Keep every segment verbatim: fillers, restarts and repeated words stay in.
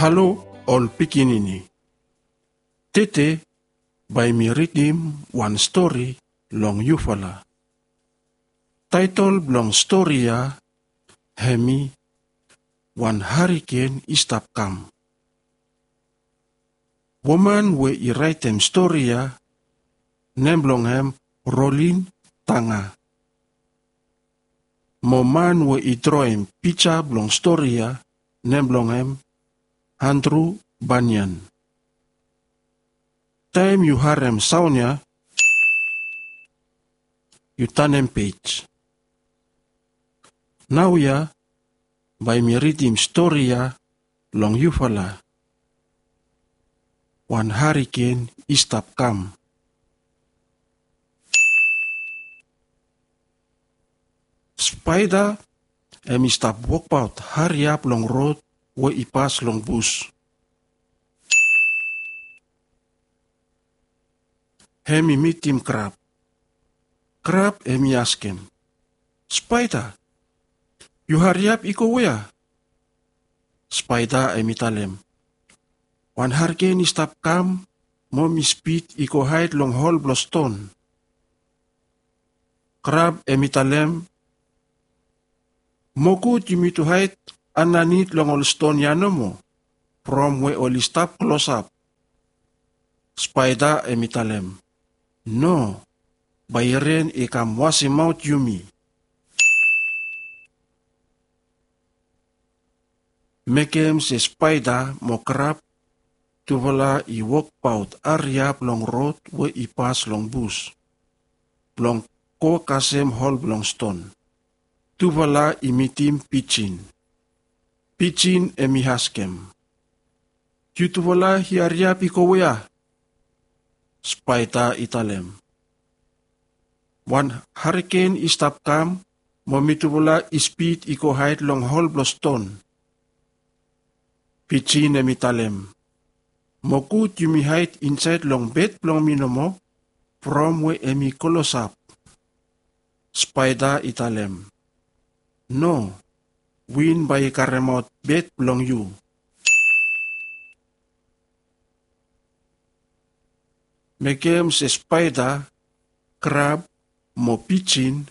Halo ol pikinini. Tede bae mi ridim wan stori long yufala. Taetol blong stori ya hemi Wan Hariken i Stap Kam. Woman we i raetem stori ya nem blong hem Rolin Tanga. Mo man we i droem pija blong stori ya nem blong hem Andru Banian. Taem yu harem saon ya yu tanem pej. Naoia bae mi ridim stori ya long yufala. Wan Hariken i Stap Kam. Spaeda hemi stap wokbaot hariap long rod we i pas long bus. Hemi mitim krab. Krab hemi askem, "Spaeda, yu hariap i go wea?" Spaeda hemi talem, "Wan hariken i stap kam mo mi spid i go haed long hol blong ston." Krab hemi talem, "Mo gud yumi tu haed andanit long ol ston ya nomo, from we oli stap klosap." Spaeda hemi talem, "No, bae ren i kam wasemaot yumi." Mekem se spaeda mo krab tufala i wokbaot hariap long rod we i pas long bus blong go kasem hol blong ston. Tufala i mitim pijin. Pijin hemi askem, "Yutufala i hariap i go wea?" Spaeda i talem, "Wan hariken i stap kam mo mitufala i spid i go haed long hol blong ston." Pijin hemi talem, "Mo gud yumi haed insaed long bed blong mi nomo, from we hemi klosap." Spaeda i talem, "No, win bae i karemaot bed blong yu." Mekem se spaeda, krab mo pijin,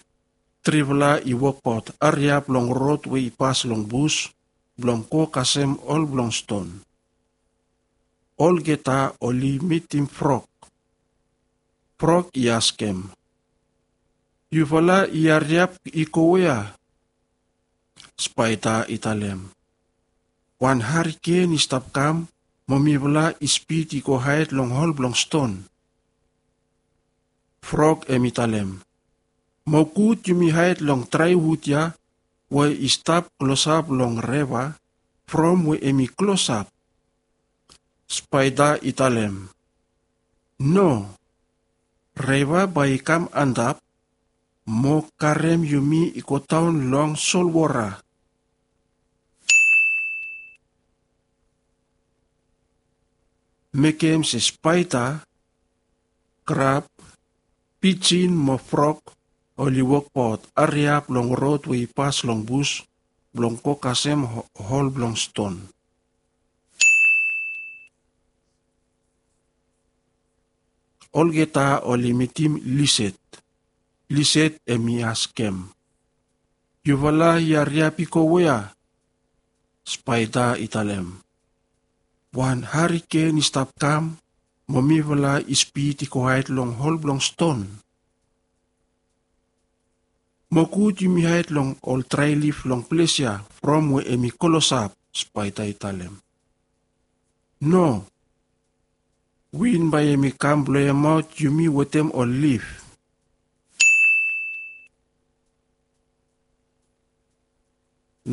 trifala i wokbaot hariap long rod we i pas long bus blong go kasem hol blong ston. Olgeta oli mitim frog. Frog i askem, "Yufala i hariap i go wea?" Spaeda i talem, "Wan hariken i stap kam mo mifala i spid i go haed long hol blong ston." Frog hemi talem, "Mo gud yumi haed long drae wud ya we i stap klosap long reva, from we hemi klosap." Spaeda i talem, "No, reva bae i kam antap mo karem yumi i godaon long solwora." Mekem se spaeda, krab, pijin mo frog oli wokbaot hariap long rod we i pas long bus blong go kasem ho-, hol blong ston. Olgeta oli mitim liset. Liset hemi askem, "Yufala i hariap i go wea?" Spaeda i talem, "Wan hariken i stap kam mo mifala i spid i go haed long hol blong ston." "Mo gud yumi haed long ol drae lif long ples ya from we hemi klosap," spaeda i talem. "No, win bae hemi kam bloemaot yumi wetem ol lif."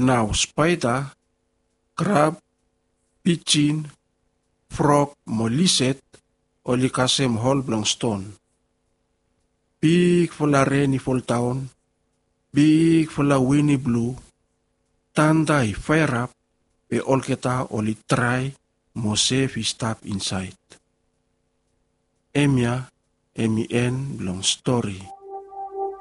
Nao spaeda, krab, pijin, frog mo liset oli kasem hol blong ston. Bigfala ren i foldaon, bigfala win i blu, tanda i faerap, be olgeta oli drae mo sef i stap insaed. Hemia hemi en blong stori.